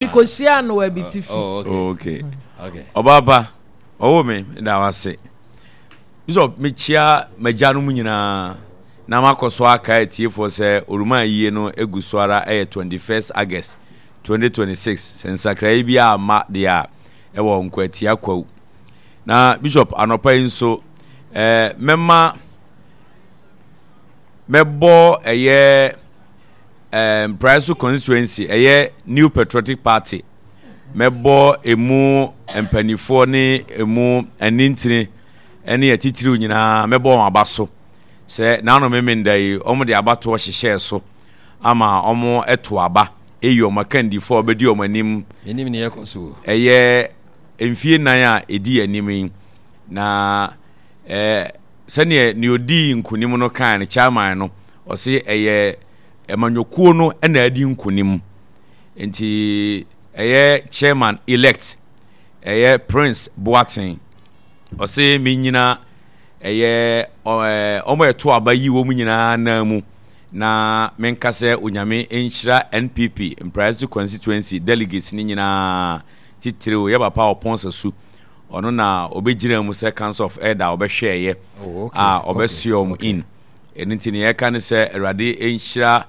Mekɔhyiaa no wɔ Abitifi. Oh, okay. Okay. Ɔbaa pa, ɔwɔ me, meda wo ase. Bishop, mekyia m'agyanom nyinaa na makɔ so aka atiefoɔ sɛ Oruma ayie no egu so ara ɛyɛ 21st August 2026 sɛ nsakraeɛ bi amma deɛ a ɛwɔ Nkwatia Kwawu. Na Bishop, anɔpa yi nso eh, mɛma mɛbɔ ɛyɛ eh, Mpraeso constituency ɛyɛ New Patriotic Party mɛbɔ emu mpanimfoɔ ne emu anintini ne atitiriw nyinaa mɛbɔ wɔn aba so sɛ n'ano memenda yi wɔn de abatoɔ hyehyɛɛ so ama wɔn ɛto aba eyi wɔn akandifoɔ a wɔbɛdi wɔn anim Menim nea ɛkɔ so. ɛyɛ mfie nan a ɛdi anim yi na ɛɛ sɛdeɛ nea ɔdii nkunim no kae no chairman no ɔse ɛyɛ amanyɔkuo no na adi nkunim nti ɛyɛ chairman elect ɛyɛ Prince Boateng ɔse menyina ɛyɛ ɔmo ɛto aba yi wɔn nyinaa nan mu na menka sɛ onyame nhyira NPP Mpraeso constituency delegates ne nyinaa titiriw yɛ papa ɔpɔn sasu ɔno na ɔbɛgyina mu sɛ council of elder a ɔbɛhwɛɛyɛ oh, a ɔbɛsoɛ wɔn in ɛno nti nea yɛka ne sɛ awurade nhyira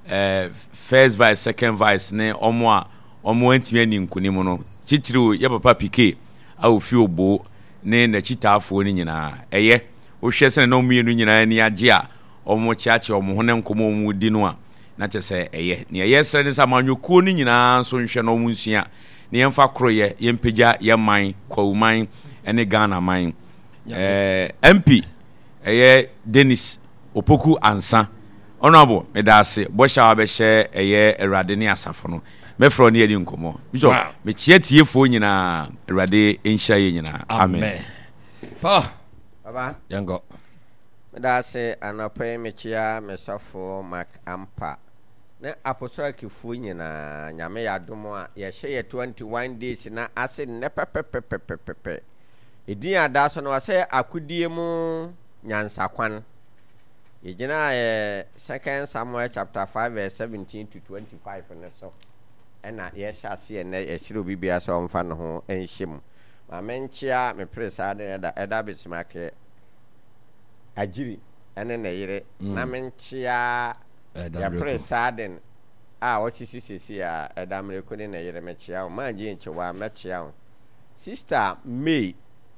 eh, first vice second vice ne ɔmo a ɔmo antumi ani nkonim no titiriw yɛ papa pike a ofi obo ne n'akyitaafoɔ no nyinaa ɛyɛ wohwɛ sɛ na ɔmo mmienu nyinaa ani agye a ɔmo kyeakyea ɔmo ho ne nkɔmɔ ɔmo di no a na kyɛ sɛ ɛyɛ nea yɛsrɛ ne sɛ amanyɔkuo no nyinaa nso nhwɛ na ɔmo nsua na yɛmfa koroyɛ yɛmpagya yɛn man kwawu man ne Ghana man ɛɛ eh, MP ɛyɛ Dennis Opoku Ansa Honorable meda ase bɔhyɛ a wabɛhyɛ ɛyɛ Awurade ne asafo no mɛfrɛ wo ne yɛdi nkɔmmɔ Bishop Wow. mekyia tiefoɔ nyinaa Awurade nhyira yɛ nyinaa amen, Amen. Pa, Baba, yɛnkɔ. meda ase anɔpa yi mekyia me sɔfo Mark Ampa ne aposɔlkifoɔ nyinaa. Nyame yɛ adom a yɛhyɛ yɛ 21 days na ase nnɛ pɛpɛpɛpɛpɛpɛ. Edin a da so no ɔsɛ akodie mu nyansakwan. Yɛgyinaa yɛ Second Samuel chapter 5 verse 17 to 25 no so ɛna yɛhyɛ aseɛ nnɛ yɛhyerɛ obi biara sɛ ɔmfa ne ho nhyɛ mu. Ma menkyea me pere saa de ɛda ɛda Bismarck Agyiri ɛne ne yere na menkyea Yɛpere Saaden a ɔsi so seesei a, Ɛda Mmereko ne ne yere, mekyea wo. Maa Jane Kyewaa, mɛkyea wo. Sista May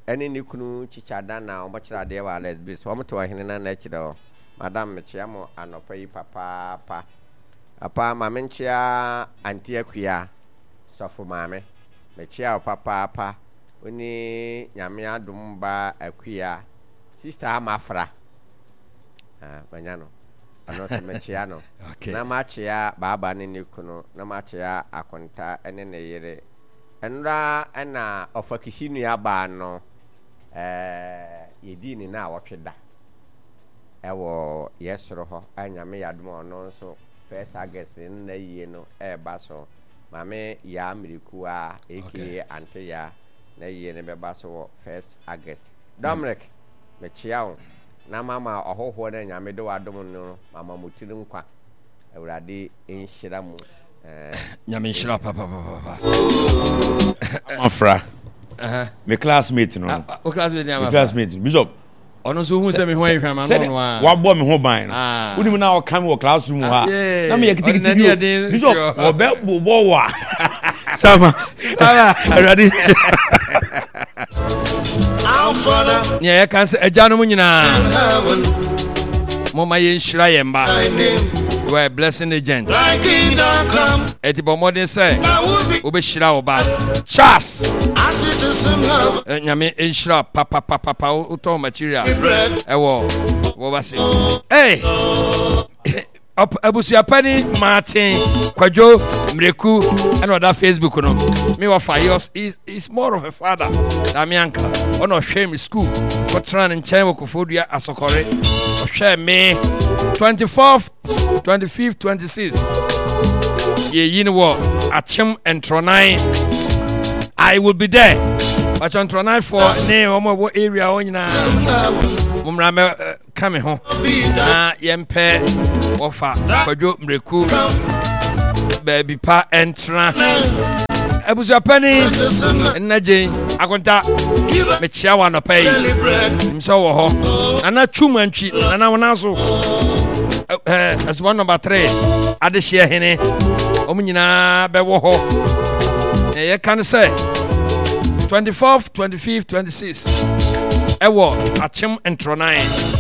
ne ne kunu Chicha Dan a wɔkyerɛ adeɛ wɔ Alex Base, wɔte Ɔhene Nana akyire hɔ. Madam, mekyea mo anɔpa yi papaapa. Papa, ma menkyea Auntie Akua, Sɔfo Maame. Mekyea wo papaapa. Wo ne Nyame adom ba Akua, Sista Amafra. Ah, manya no. Ɔno nso mekyea no. Okay. Na makyea Baaba ne ne kunu, na makyea Akonta ne ne yere. Nnora na Ɔfakisi nuabaa no, eh, yɛdii ne naawɔtwe da ɛwɔ yɛ soro hɔ. A Nyame yɛ adom a ɔno nso first August ne n'ayie no ɛreba so. Maame Yaa Mirikuaa aka Okay. Ante Yaa n'ayie no bɛba so wɔ first August. Dominic, mekyea wo. Na mama ɔhohoɔ no a Nyame de wadom no no mama mo tiri nkwa. Awurade nhyira mo. Eh, Nyame nhyira papapapa. Amafra. Me classmate no. Ah, ah, o classmate ni Me Amafra. classmate Bishop. Ɔno nso hu sɛ me ho ayɛ hwam ano ɔno a. Wabɔ me ho ban no. Ah. Wonim na ɔka me wɔ classroom hɔ a. Na meyɛ kitikiti bi o. Bishop wɔbɛ bobɔ wɔ a. Sama. Sama. Awurade Nea yɛka sɛ agyanom nyinaa momma yɛnhyira yɛn mma. You are a blessing agent. Ɛti bɔ mmɔden sɛ wobɛhyira wo ba. Charles. Nyame nhyira papapapapa wotɔn material ɛwɔ wɔba se. Hey! Abusuapani Martin Kwadwo Mreku ɛna ɔda Facebook no. Me wɔfa he is is more of a father than me uncle. Ɔna ɔhwɛ me school kɔtena ne nkyɛn wɔ Koforidua Asɔkɔre. Ɔhwɛ me 24th, 25th, 26th. Yɛyi no wɔ Akyem Ntrɔnan. I will be there. Bàtchɛ Ntrɔnanfoɔ ne wɔn a ɛwɔ area hɔ nyinaa. Mo mmra mɛ ka me ho na yɛmpɛ wɔfa kwadwo mmireku. Baabi pa ɛntena. Abusuapani nna gyen akonta mekyia wɔ anɔpa yi. Nim sɛ wɔ hɔ. Nana twum antwi nana wɔn so. Ɛsoma nɔmba 3 adehyeɛ hene. Wɔn nyinaa bɛwɔ hɔ. Na yɛka no sɛ 24, 25, 26 ɛwɔ akyem ntorɔnan.